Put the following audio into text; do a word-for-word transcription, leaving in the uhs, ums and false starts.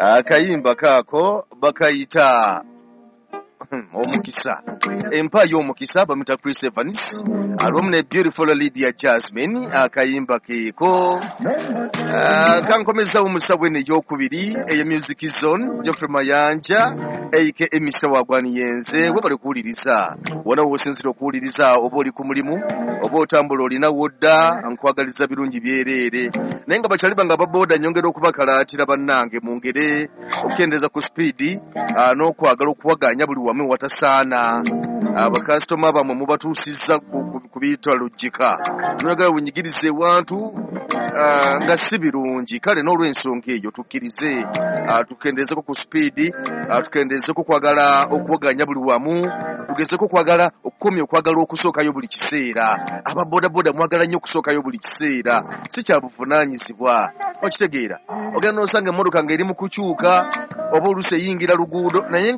Akayimba kaako bakayita Omukisa, empa y'omukisa. Bamuyita Chris Evans alwamu ne beautiful Lydia Jasmine. Akayimba keeko Ah, kankomezawo mu ssaawa eno eyokubiri eya Music Zone. Geoffrey Mayanja aka Mister Wagwaniyenze. Webale kuwuliriza wona wosinzira okuwuliriza, oba oli ku mulimu oba otambula olina wodda, nkwagaliza birungi byereere. Naye nga bakyali bange ababooda, nyongera okubakalaatira bannange mungere okukendeeza ku sipiidi ah, n'okwagala okuwaganya buli wamu watasaana. Abakasitoma bamwe mubatuusizza ku- ku- ku bitalujjika, noyagala bunyigiriza ewantu ah, nga si birungi. Kale n'olw'ensonga eyo tukkirize ah, tukendeezeko ku sipiidi, ah, tukendeezeko okwagala okuwaganya buli wamu, tugezeko okwagala okukomya okwagala okusookayo buli kiseera. Ababodaboda mwagala nnyo okusookayo buli kiseera, si kya buvunaanyizibwa. Okitegeera, ogenda n'osanga emmotoka ng'eri mu kukyuka oba oluusi eyingira luguudo naye